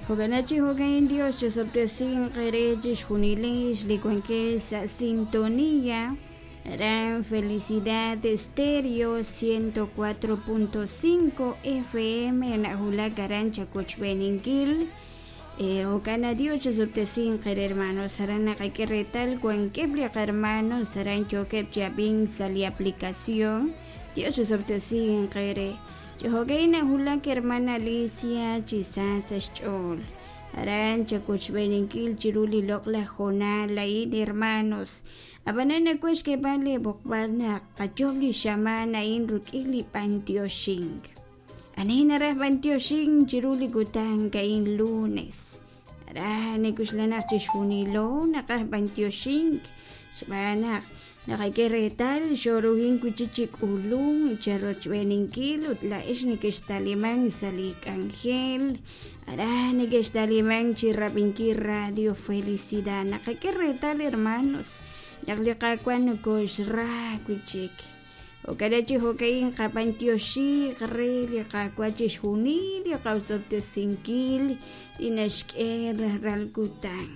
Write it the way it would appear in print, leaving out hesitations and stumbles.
Jo'kan chi jo'ka'in Dios chosob'tesinq eere chixjunilex li wankex sa' sintonía aran Felicidad Estéreo 104.5 FM na'wulak aran chawochb'eeninkil. Jo'kan na Dios chosob'tesinq eere hermanos aran naqak'e reetal wankeb' li qahermanos aran yookeb' chi ab'ink sa' li aplicación. Dios chosob'tesinq eere. Chi jo'ka'in nawulak hermana Alicia chi sa sa' xch'ool. Aran chawochb'eeninkil chiru li loq'laj hoonal a'in hermanos. Ab'anan nawaj xk'eeb'al lee b'oqb'al naq qayoob' li xamaan a'in rik'in li b'antioxink. Ani naraj b'antioxink chiru li kutan a'in lunes? Ra nik'uxla naq chixjunilo naqaj b'antioxink xb'aan naq naqak'e reetal xooruhin wi' chik chi k'ulunk cherochb'eeninkil ut laa'ex nekextalimank sa' li k'anjel ara nekextalimank chi rab'inkil Radio Felicidad naqak'e reetal hermanos naq li Qaawa' nokoxra wi' chik. Jo'kan chi jo'ka'in qab'antioxiiq re li Qaawa' chixjunil li qaosob'tesinkil li naxk'e rajlal kutan.